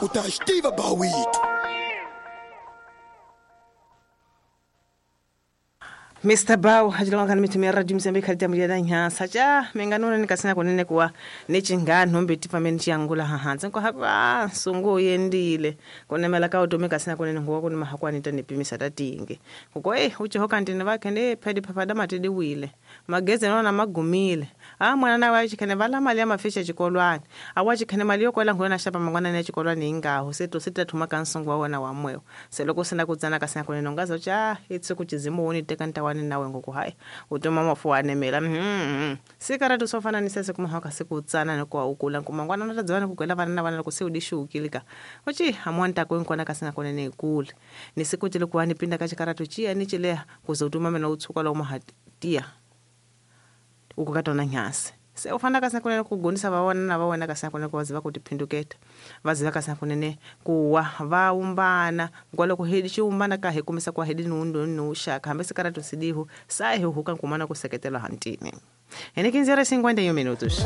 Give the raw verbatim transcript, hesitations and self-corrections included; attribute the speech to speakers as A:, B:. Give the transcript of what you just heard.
A: U ta xi tiva bawito.
B: Mister Bow hajilonga kana mithu ya radio Mozambique khalita muyela nyansa cha mengano ni kasina kunene kuwa nechingano mbeti pamene chiyangula hahanzi nko hapa sungu yendile kunemela ka utome kasina kunene nguwa kuni mahakwani tanipimisa tatinge kuko eh uchiho kantine vakhe ne phedi phapada matidi wile mageze nona magumile ah mwana nawe achikhene vala mali ya mafisha chikolwani awachikhene mali yokwela ngona shapa mangwana ne chikolwani ingaho seto sitathuma kansungu wawona wamwewo seloko sina kutsana kasina kunene ngazo cha itse kuchizimu woni teka wani nawe ngoku hayi utoma mafu anemela mhm sikaratu sofana nisese kumahaka sikutsana nikuwa ukula nkumangwana natadzana kugwela vana na vana loko se udishukilika uchi amwanta kwenkwana kasina konene ikule nisikutile kuwa nipinda kachikaratu chiya nichileha kuze utuma mena utsuka lo mahatia ukukatona nyasi se ufana kasina kunene kugonisa vawana na vawana kasina kunene kuvaziva kuti phinduketa vaziva kasina kunene kuwa vaumbana ngwaloko hedi chiumbana kahe kumisa kwa hedi nundo nushaka hambe sikaratu sidihu sahi huka nkumana kuseketela hantini ene quinze horas e cinquenta e um minutos.